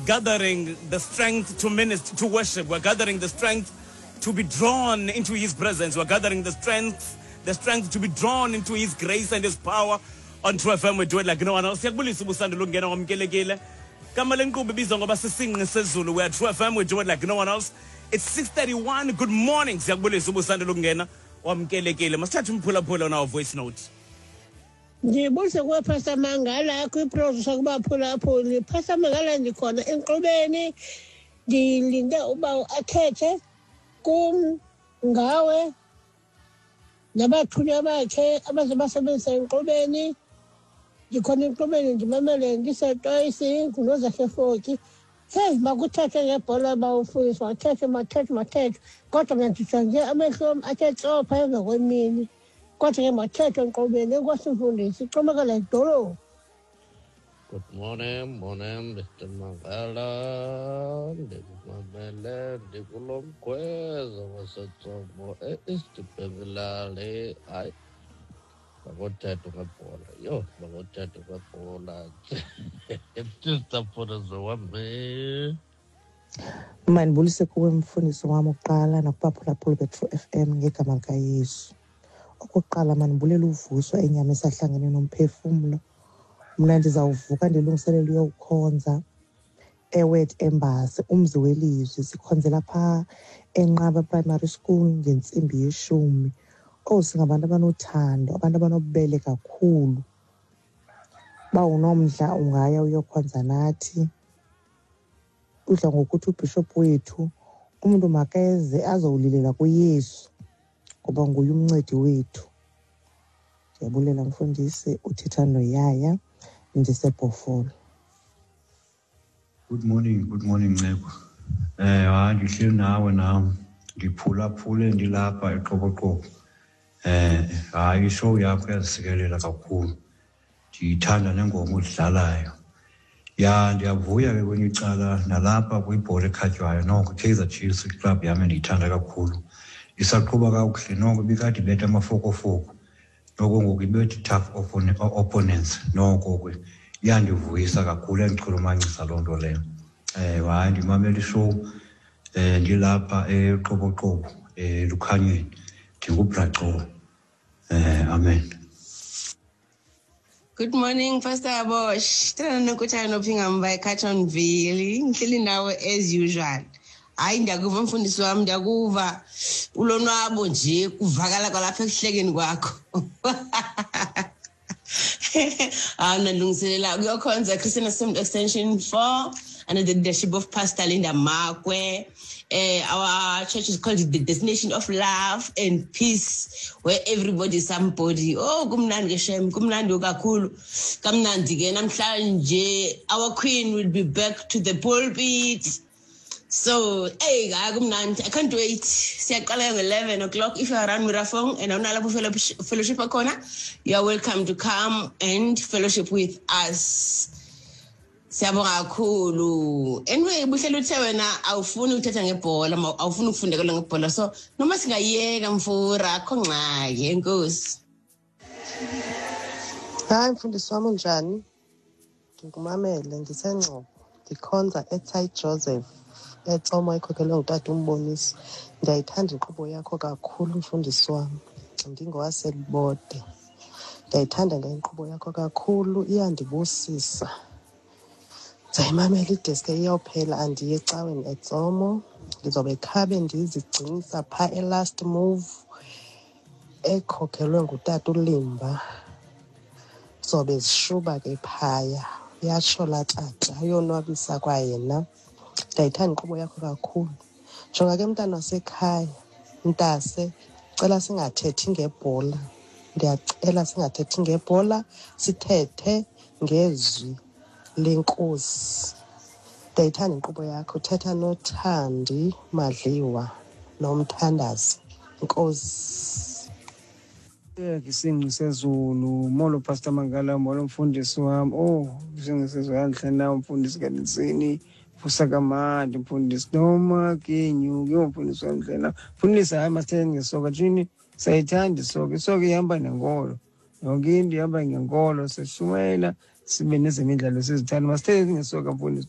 Gathering the strength to minister, to worship. We're gathering the strength to be drawn into His presence. We're gathering the strength to be drawn into His grace and His power. On True FM, we do it like no one else. Siyakubulisa ubusandula ukungena, wamkelekile. Gama lenkqubo ibizwa ngoba Sisingqi Sezulu. We are True FM, we do it like no one else. It's 6:31. Good morning. Siyakubulisa ubusandula ukungena, wamkelekile. Masithathe umphulaphula on our voice note. Ndibulise kuwe, Pastor Mangala, kwiproducer, kubaphulaphuli. Pastor Mangala, ndikhona enkqubeni, ndilinde uba athethe kum ngawe nabathunywa bakhe abaze basebenzisa enkqubeni. Ndikhona enkqubeni, ndimamele ndisetoyisi, nguNozahle Foki. Hey, makuthethwe ngebhola, bawufundisi, mathethwe, mathethwe, mathethwe, kodwa mna ndijonge amehlo am athe tsopha emva kwemini, kodwa ke mathethwe enkqubeni. Enkosi, mfundisi, ixhomekela idolophu. Good morning, morning, Mr. Mangala. Ndikumamele ndikulo mkhweza waseTsomo e-East Bengilali. Hayi, makuthethwe ngebhola. Yho, makuthethwe ngebhola. Mr. wami. Mandibulise kuwe, mfundisi wam, okokuqala, nakubaphulaphuli be-True FM ngegama likaYesu. Okokuqala mandibulele uvuswa enyama esahlangene nomphefumlo. Mna ndizawuvuka ndilungiselele uyowukhonza eWord Embassy, umzi welizwi. Sikhonzela phaa eNqaba Primary School ngentsimbi yeshumi. Owu, singabantu abanothando, abantu abanobubele kakhulu. Uba unomdla ungaya uyokhonza nathi. Udla ngokuthi ubhishophu wethu umntu makeze azowulilela kuYesu ngoba nguye umncedi wethu. Ndiyabulela, mfundisi. Uthetha noYaya, ndiseBhofolo. Good morning, good morning, Nceko. Hayi, ndihleli nawe nam. Ndiphulaphule ndilapha eQoboqobo. Hayi, ishow yakho iyazisikelela kakhulu. Ndiyithanda nengoma odlalayo. Ya, ndiyavuya ke kwenye icala nalapha kwibhola ekhatywayo, noko iKaizer Chiefs, iklabhu yam endiyithanda kakhulu, isaqhuba kakuhle noko. Ibikade ibetha amafokofoko, noko ngoku ibetha i-tough opponents. Noko ke iyandivuyisa kakhulu, iyandichulumancisa loo nto leyo. Hayi, ndimamela ishow ndilapha eQoboqobo, eLukhanyweni, ndinguBraco. Amen. Good morning, Pastor Bosch. Tena nokuthana nophinga eCarltonville. Ngihleli nawe as usual. Hayi, ndiyakuva, mfundisi wami, ndiyakuva. Ulonwabo nje kuvakala kwalapha ekuhlekeni kwakho. Hayi, nalungiselela kuyokhonza Christian Assembly Extension 4 under the leadership of Pastor Linda Makwe. Our church is called the Destination of Love and Peace, where everybody is somebody. Oh, kumnandi ke shem, kumnandi kakhulu. Kamnandi ke namhlanje, our queen will be back to the pulpit. So, hey, hayi, kumnandi. I can't wait. Siyaqala nge-11 o'clock. If you are around Merafong and awunalapho fellowship khona, you are welcome to come and fellowship with us. Siyabonga kakhulu. Anyway, buhlelo uthe wena awufuni ukuthetha ngebhola, awufuni ukufundekelwa ngebhola. So, noma singayeka mfura, akho ngxaki. Enkosi. Hayi, mfundisi wami, unjani? Ndikumamele ndiseNgcobo, ndikhonza eSt Joseph eTsomo, ekhokhelwe ngutata uMbonisi. Ndiyayithanda inkqubo yakho kakhulu, mfundisi wam. NdingowaseLibode. Ndiyayithanda ke inkqubo yakho kakhulu, iyandibusisa. Ndizayimamela ideske iyophela, andiye ecaweni eTsomo. Ndizobe khabe ndizigcinisa phaa eLast Move ekhokhelwe ngutata uLimba. Zobe zishuba ke phaya, uyatsho laa tata, uyonwabisa kwayena. Ndiyayithanda inkqubo yakho kakhulu. Jonga ke, mntana wasekhaya, mntase, cela singathethi ngebhola. Ndiyacela singathethi ngebhola, sithethe ngezwi lenkosi. Ndiyayithanda inkqubo yakho. Thetha noThandi Madliwa nomthandazi. Nkosi. Isingqi Sezulu, molo, Pastor Mangala, molo, mfundisi wam. Oh, Isingqi Sezulu, yandihle na, mfundisi kaNtsini, vusa kamandi, mfundisi, noma kenyuke, mfundisi wam ndlela. Mfundisi, hayi, masithethe ngesoka tshini, siyayithanda isoka, isoka ihamba nenkolo. Yonke into ihamba ngenkolo, sishumayela. Sibe nezemidlalo sizithanda. Masithethe ngesoka, mfundisi.